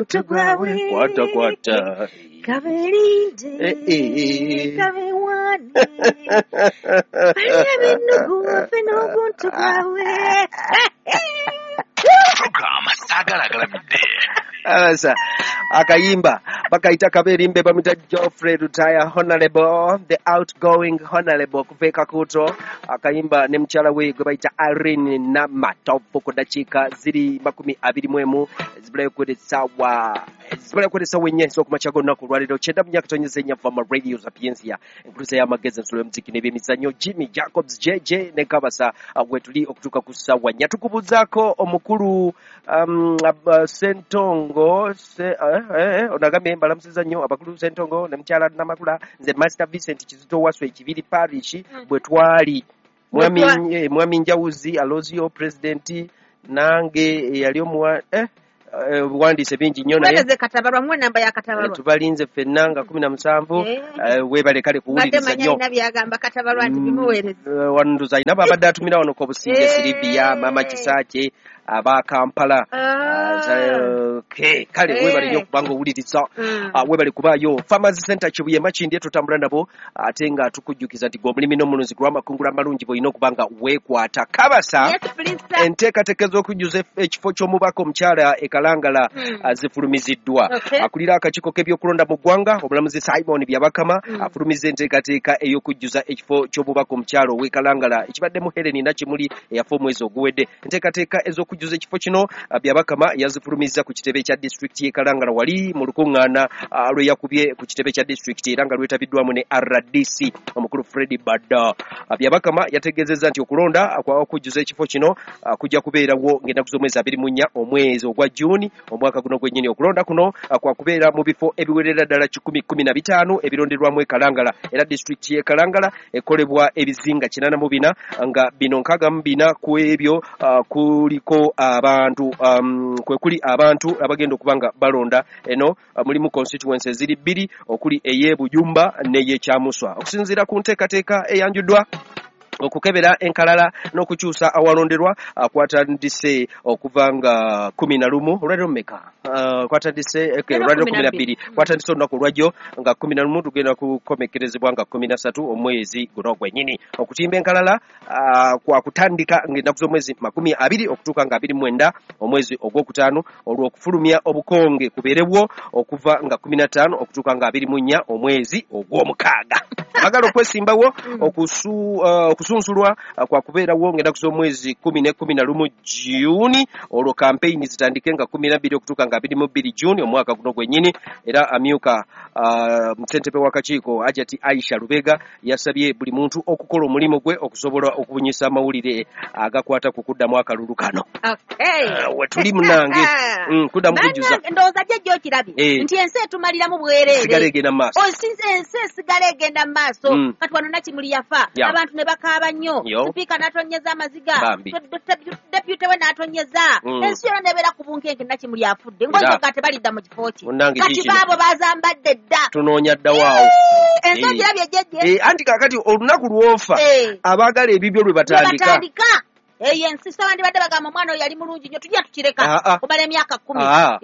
Tugwawe. Kwata kwata. Kaberinde. Kabewane. Balya b'ennugu waffe n'oguntu gwabwe. Program Saagala Agalamidde. Asa akayimba bakayita Kaberimbe, bamuyita Geoffrey Lutaya Honorable, the outgoing honorable kuva e Kakuuto. Akayimba ne mukyala we gwe bayita Irene Namatovu. Ku ddakiika ziri 21 zibulayo kwera essaawa, zibulayo kwera essaawa 4 ez'okumakya g'olunaku olwaleero, 94.4 Fama Radio Sapientia, enkuluza y'amagezi, ensulo y'omuziki n'ebyemizannyo. Jimmy Jacobs JJ ne Kabasa wetuli okutuuka ku ssaawa 4. Tukubuuzaako omukulu Sentongo onagambye mbalamusiza nnyo abakulu Sentongo ne mukyala Namakula. Nze Master Vincent Kizito Waswe Ekibiri Parish bwe twali mwami Njawuzi Alozio president nange eyali omuwa obuwandiise bingi nnyo naye Weereze Katabalwa, muwe namba ya Katabalwa. Tubalinze ffenna nga 17. Weebale kale kuwuliriza nnyo. Alina byagamba Katabalwa nti bimuweereze. Wanduza alina babadde atumira wano ku Obusinge Silivia, Mama Kisaakye aba Kampala. Kale weebale nnyo okubanga owuliriza. Weebale kubaayo. Farmers Center Kibuye Makindye tutambula nabo, ate nga tukujjukiza nti gwe omulimi n'omulunzi gw'amakungula amalungi bw'olina okuba nga weekwata. Kabasa, enteekateeka ez'okujjuza ekifo ky'omubaka omukyala e Kalangala zifulumiziddwa. Akulira akakiiko k'ebyokulonda mu ggwanga omulamuzi Simon Byabakama afulumizza enteekateeka ey'okujjuza ekifo ky'omubaka omukyala ow'e Kalangala ekibaddemu Helen Nakimuli eyafa omwezi oguwedde. Enteekateeka ez'okujjuza ekifo kino Byabakama yazifulumizza ku kitebe kya disitulikiti y'e Kalangala wali mu lukuŋŋaana lwe yakubye ku kitebe kya disitulikiti era nga lwetabiddwamu ne RDC omukulu Fred Badda. Byabakama yategeezezza nti okulonda okujjuza ekifo kino kujja kubeerawo ng'ennaku z'omwezi 24 omwezi ogwa Juni omwaka guno gwennyini. Okulonda kuno kwa kubeera mu bifo ebiwerera ddala 115 ebironderwamu e Kalangala, era disitulikiti y'e Kalangala ekolebwa ebizinga 84 nga bino 64 ku ebyo kuliko abantu kwe kuli abantu abagenda okuba nga balonda. Eno mulimu constituencies ziri bbiri, okuli ey'e Bujumba n'ey'Ekyamuswa. Okusinziira ku nteekateeka eyanjuddwa, okukebera enkalala n'okukyusa awalonderwa kwatandise okuva nga 11. Olwaliro mmeka kwatandise? Olwaliro 12. Kwatandise olunaku olwajjo nga 11, tugenda kukomekerezebwa nga 13 omwezi guno gwennyini. Okutimba enkalala kwa kutandika ng'ennaku z'omwezi 20 okutuuka nga 29 omwezi ogwokutaano, olwo okufulumya obukonge kubeerewo okuva nga 15 okutuuka nga 24 omwezi ogw'omukaaga. Bagala okwesimbawo okusunsulwa kwa kubeerawo ng'ennaku z'omwezi 10 ne 11 Juni, olwo kampeyini zitandike nga 12 okutuuka nga 22 Juni omwaka guno gwennyini. Era amyuka ssentebe w'akakiiko Hajati Aisha Lubega yasabye buli muntu okukola omulimu gwe okusobola okubunyisa amawulire agakwata ku kuddamu akalulu kano. Wetuli munange kuddamu kujjuza. Ndowooza jjajja okirabye nti ensi etumaliramu bwereere. Sigala egenda mu maaso. Ensi esigala egenda mu maaso. Kati wano Nakimuli yafa, abantu ne bakaaba nnyo, sipiika n'atonyeza amaziga, deputy we n'atonyeza, ensi yonna nebeera ku bunkenke. Nakimuli afudde ng'ozoga tebalidda mu kifo kye. Kati baabo bazambadde dda. Tunoonya ddawaawo. Ensi ogirabye jjajja? Anti kaakati olunaku lw'ofa abaagala ebibyo lwe batandika. Eyo ensi sawandibadde bagamba omwana oyo yali mulungi nnyo, tujja tukireka kumala emyaka 10.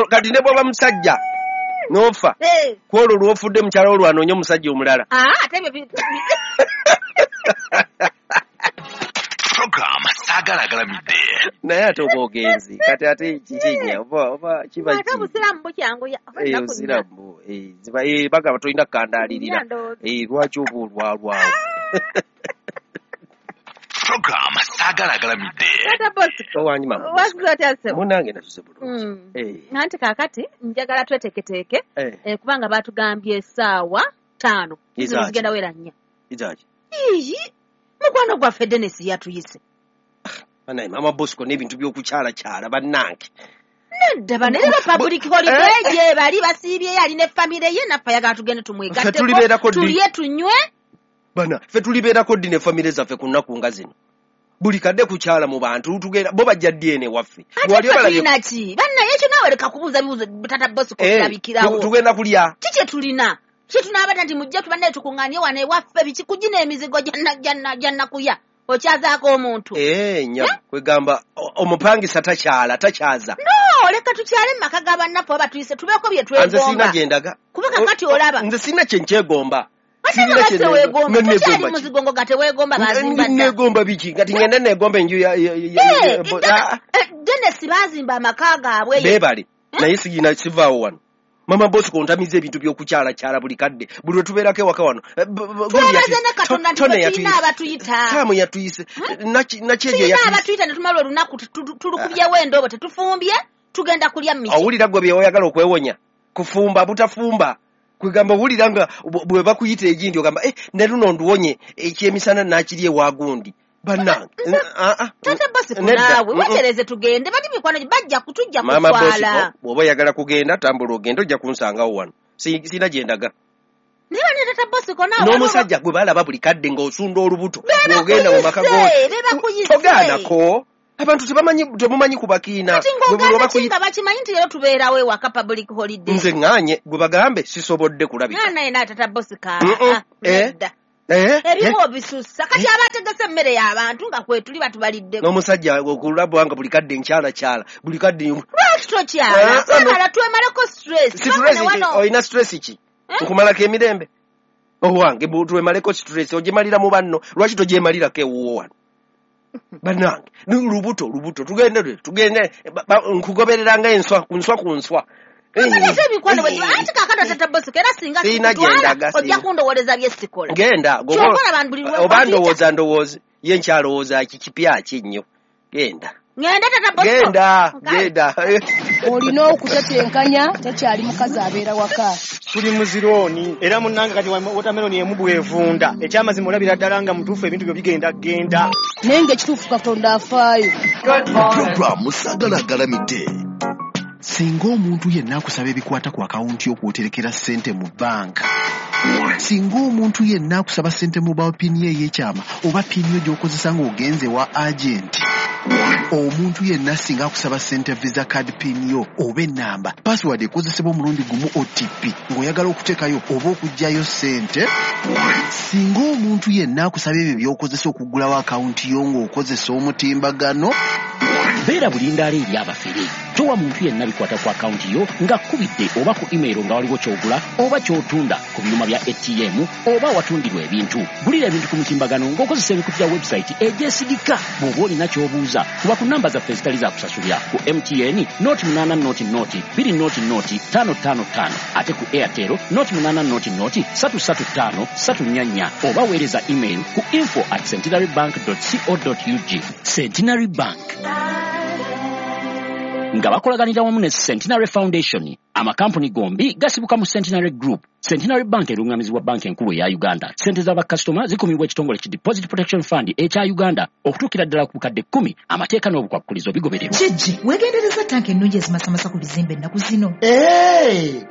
Kati ne bw'oba musajja n'ofa kwolwo lw'ofudde mukyala wo lwanoonya omusajja omulala. Ate ebyo Program Saagala Agalamidde. Naye ate oba ogenzi kati ate kikinya oba kiba ate obusiraamu bukyanguya. Obusiraamu bagamba tolina kukandaalirira, lwaki oba olwalwawo? Program Saagala Agalamidde. Owanyi mama. Munange nasuze bulungi. Anti kaakati njagala tweteeketeeke kubanga baatugambye essaawa 5 zigenda wera 4. Iyi mukwano gwaffe Dennis yatuyise. Banaye mama Bosco n'ebintu by'okukyalakyala bannange. Nedda banaye, public holiday gye bali basiibyeyo, ali ne famire ye, naffe ayagala tugende tumwegatteko, tulye tunywe. Bana ffe tulibeerako ddi ne famire zaffe ku nnaku nga zino? Buli kadde kukyala mu bantu, tugenda bo bajja ddi eno ewaffe? Tulina ki bannaye? Ekyo naawe leka kubuuza bibuuzo. Tata Bosco, kirabikirawo. Tugenda kulya. Ki kye tulina? Ki tunaabata nti mujje tubannaye tukuŋŋaanye wano ewaffe biki kugina emizigo gya nakuya? Okyazaako omuntu. Nya kwegamba omupangisa takyala takyaza. No, leka tukyale mu maka ga bannaffe oba tuyise tubeeko bye twegomba. Nze sirina gye ndaga. Kuba kakati olaba. Nze sirina kye nkyegomba. Tukyali muzigongo nga teweegomba bazimba dda. Neegomba biki? Kati ngenda neegomba enju ya Dennis bazimba amaka gaabwe. Beebale. Naye sigina sivaawo wano. Mama Bosco ontamiza ebintu by'okukyalakyala buli kadde. Buli lwe tubeerako ewaka wano. Twebaze ne Katonda nti tulina abatuyita. Taamu yatuyise. Nakyejo yatuyise. Tulina abatuyita ne tumala olunaku tulukubyewo endobo tetufumbye tugenda kulya mmisi. Owulira gwe bye oyagala okwewonya. Kufumba butafumba. Kwegamba owulira nga bwe bakuyita egindi ogamba ne luno nduwonye ekyemisana nakiri ewa gundi. Bannange. Tata Bosco naawe wetereze tugende bali mikwano bajja kutujja kutwala. Mama Bosco bw'oba oyagala kugenda tambula ogende ojja kunsangawo wano. Sirina gye ndaga. Naye bane Tata Bosco naawe. N'omusajja gwe balaba buli kadde ng'osunda olubuto bw'ogenda mu maka go. Togaanako. Abantu temumanyi kubakiina. Kati ng'ogaana ki nga bakimanyi nti leero tubeerawo ewaka public holiday. Nze ŋŋaanye gwe bagambe sisobodde kulabika. Naye naye Tata Bosco. Nedda. Ebimu obisussa kati abategese emmere y'abantu nga kwetuli batubaliddeko. N'omusajja okulaba nga buli kadde nkyalakyala buli kadde. Lwaki tokyala? Twemala twemaleko stress. Olina stress ki? Nkumalako emirembe. Owange twemaleko stress ogyemalira mu banno lwaki togyemalirako ewuwo wano? Bannange lubuto tugende nkugoberera nga enswa ku nswa ku nswa. Anti kaakano Tata Bosco era singa sikutwala ojja kundowoleza bye sikola. Genda oba ndowooza ndowooza ye nkyalowooza ki kipya ki nnyo. Genda. Ngenda Tata Bosco. Genda. Olina okutetenkanya takyali mukazi abeera waka. Tuli muzirooni era munnange kati watermelon emu bw'evunda. Ekyamazima olabira ddala nga mutuufu ebintu byo bigenda genda. Naye ng'ekituufu Katonda afaayo. Program Saagala Agalamidde. Singa omuntu yenna akusaba ebikwata ku akawunti y'okwoterekera ssente mu banka. Singa omuntu yenna akusaba ssente mobile pin ye ey'ekyama oba pin yo gy'okozesa ng'ogenze wa agenti. Omuntu yenna singa akusaba ssente visa card pin yo oba ennamba password ekozesebwa omulundi gumu OTP ng'oyagala okuteekayo oba okuggyayo ssente. Singa omuntu yenna akusaba ebyo by'okozesa okuggulawo akawunti yo ng'okozesa omutimbagano. Beera bulindaala eri abafere. Towa muntu yenna bikwata ku akawunti yo ng'akubidde oba ku email nga waliwo ky'ogula oba ky'otunda ku byuma bya ATM oba watundirwa ebintu. Gulira ebintu ku mutimbagano ng'okozesa emikutu gya website egyesigika. Bw'oba olina ky'obuuza kuba ku namba zaffe ezitali za kusasulira ku MTN 0800 000 555 ate ku Airtel 0800 335 344 oba weereza email ku info@centenarybank.co.ug. Centenary Bank nga bakolaganira wamu ne Centenary Foundation. Amakampuni gombi gasibuka mu Centenary Group. Centenary Bank erungamizibwa banka enkulu eya Uganda. Ssente z'abakasitoma zikumibwa ekitongole ki Deposit Protection Fund ekya Uganda okutuukira ddala ku bukadde 10. Amateeka n'obukwakulizo bigobererwa. Kijji, weegendereza tanka ennungi ezimasamasa ku bizimbe ennaku zino.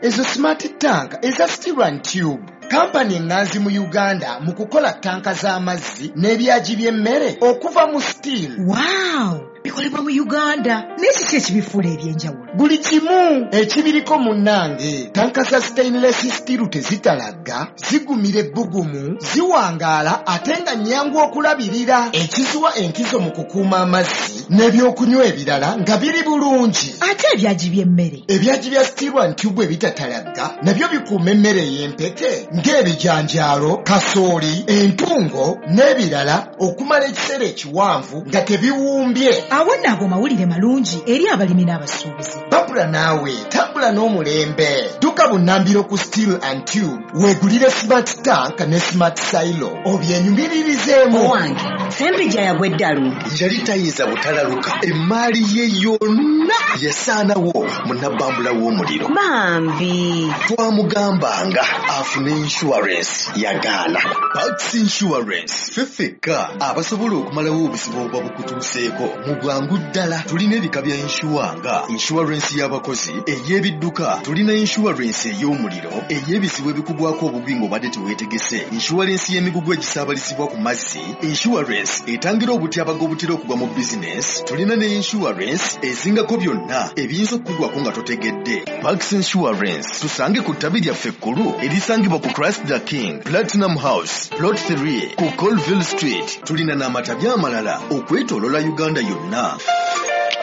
Ezo smart tank eza steel and tube. Kampani eŋŋanzi mu Uganda mu kukola tanka z'amazzi n'ebyagi by'emmere okuva mu steel. Wow! Bikolebwa mu Uganda. Naye kiki ekibifuula eby'enjawulo? Buli kimu ekibiriko munnange. Tanka za stainless steel tezitalagga, zigumira ebbugumu, ziwangaala ate nga nnyangu okulabirira. Ekiziwa enkizo mu kukuuma amazzi n'ebyokunywa ebirala nga biri bulungi. Ate ebyagi by'emmere? Ebyagi bya steel and tube ebitatalagga nabyo bikuuma emmere ey'empeke ng'ebijanjaalo, kasooli, entungo n'ebirala okumala ekiseera ekiwanvu nga tebiwumbye. Awo nno ago mawulire malungi eri abalimi n'abasuubuzi. Babula naawe tambula n'omulembe. Dduka bunnambiro ku Steel and Tube weegulire smart tank ne smart silo obyenyumiririzeemu. Owange Sempijja yagwa eddalu. Yali tayinza butalaluka. Emmaali ye yonna yasaanawo mu nabbambula w'omuliro. Bambi twamugambanga afune insurance yagaana. Pax Insurance ffe ffekka abasobola okumalawo obuzibu obuba bukutuuseeko mu bwangu ddala. Tulina ebika bya insure nga insurance y'abakozi, ey'ebidduka, tulina insurance ey'omuliro, ey'ebizibu ebikugwako obugwi ng'obadde teweetegese, insurance y'emigugu egisaabalizibwa ku mazzi, insurance Insurance etangira obutyabaga obutera okugwa mu bizinesi, tulina ne insurance ezingako byonna ebiyinza okukugwako nga totegedde. Pax Insurance tusange ku ttabi lyaffe ekkulu erisangibwa ku Christ the King Platinum House Plot 3 ku Colville Street. Tulina n'amatabi amalala okwetooloola Uganda yonna.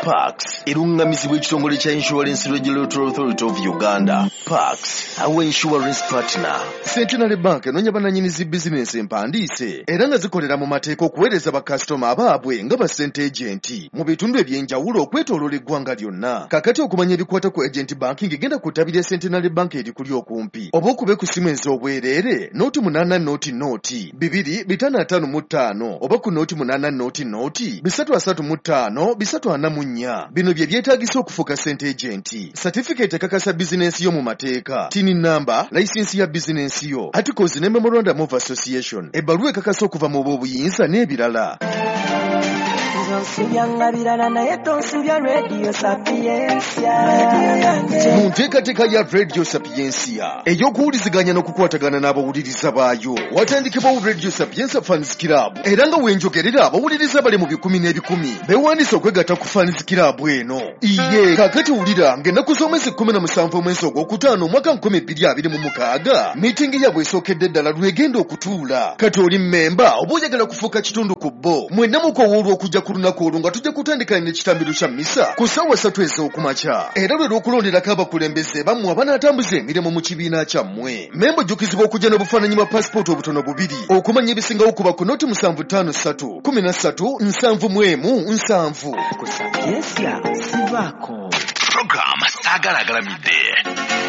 Pax erungamizibwa ekitongole kya Insurance Regulatory Authority of Uganda. Pax, our insurance partner. Centenary Bank enoonya bannannyini zi bizinensi empandiise era nga zikolera mu mateeka okuweereza bakasitoma abaabwe nga ba ssente agenti mu bitundu eby'enjawulo okwetooloola eggwanga lyonna. Kaakati okumanya ebikwata ku agent banking genda ku ttabi lya Centenary Bank erikuli okumpi oba okube ku ssimu ez'obwereere 0 8 0 0 2 555 oba ku 0 8 0 0 335 344. Bino bye byetaagisa okufuuka ssente agenti. Certificate ekakasa bizinensi yo mu mateeka, TIN number, license ya bizinensi yo, articles ne memorandum of association, ebbaluwa ekakasa okuva mu b'obuyinza n'ebirala. Mu nteekateeka ya Radio Sapientia ey'okuwuliziganya n'okukwatagana n'abawuliriza baayo, watandikibwawo Radio Sapientia Fans Club, era nga wenjogerera abawuliriza bali mu bikumi n'ebikumi beewandiise okwegatta ku Fans Club eno. Iye kaakati wulira ng'ennaku z'omwezi 17 omwezi ogwokutaano omwaka 2026 miitingi yaabwe esookedde ddala lwegenda okutuula. Kati oli mmemba oba oyagala kufuuka kitundu ku bo, mwenna mukowoolwa okujja ku lunaku olwo nga tujja kutandika n'ekitambiro kya mmisa ku ssaawa 3 ez'okumakya, era lwe lw'okulonderako abakulembeze bammwe abanaatambuza emirimu mu kibiina kyammwe. Mmemba ojjukizibwa okujja n'obufaananyi bwa paasipooti obutono bubiri. Okumanya ebisingawo kuba ku noti 753 13 71 7. Ku Sapientia sivaako. Program Saagala Agalamidde.